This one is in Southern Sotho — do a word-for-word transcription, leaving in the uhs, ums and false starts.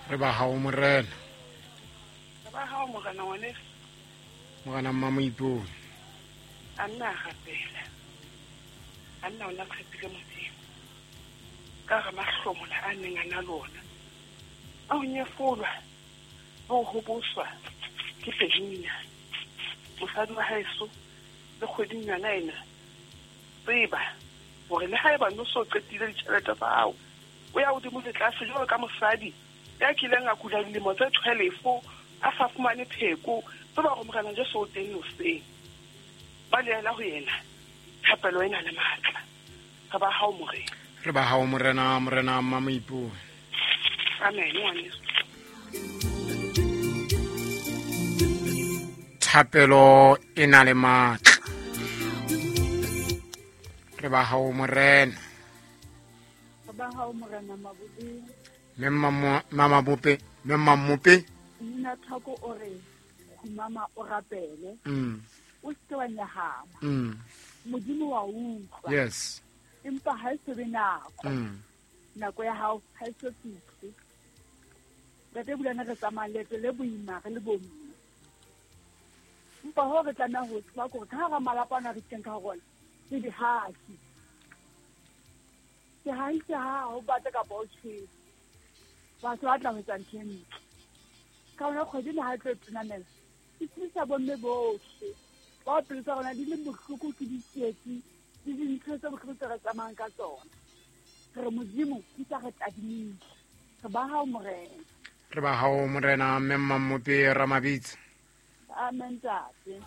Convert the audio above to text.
Re ba hao morena. Re ba hao morena ngwaneso. Morena Mmamoipone. A nna a rapela. A nna o na tshepile Modimo. Ka re mahlomola a neng a na le ona. A ho nyefolwa le ho hoboswa ke Penina. Mosadi wa haeso le kgweding yona ena. Tseba hore le haeba no so qetile ditjhelete tsa hao, o ya hodimo le tlase jwalo ka mosadi ya kileng a kula dilemo tse twelve a sa fumane pheko. Tseba hore Morena Jesu o teng hoseng. Ba leela ho yena thapelo ena le matla. Re ba hao morena. Re ba hao morena, morena Mmamoipone. Amen ngwaneso. Thapelo e na le matla. Re ba hao morena. Re ba hao morena Mabodi. Mme Mamabope, mme Mmamope. Nna thoko o re khumama o rapele. Mm. O se wa nyahama. Mm. Modimo wa utlwa. Yes. Empa ha e se be nako. Mm. Nako ya hao ha e so fihle. Ntate Bulane re tsamaya leeto le boima re le bomme. Empa ho re tlameha ho tseba hore ka hara malapa ana re teng ka rona ke dihahi. Sehahi se ha ho bata kapa ho tjhese. Batho ba tla ho etsa ntho e ntle. Ka hona kgwedi le ha e tlo tonamela, ke tsebisa bomme bohle bao pelo tsa rona di le bohloko ke ditsietsi le dintho tse bohloko tse re tsamayang ka tsona. Re re Modimo ntse re tadimile. Re ba hao morena. Re ba hao morena mme Mmamope Ramabitsa. Amen ntate.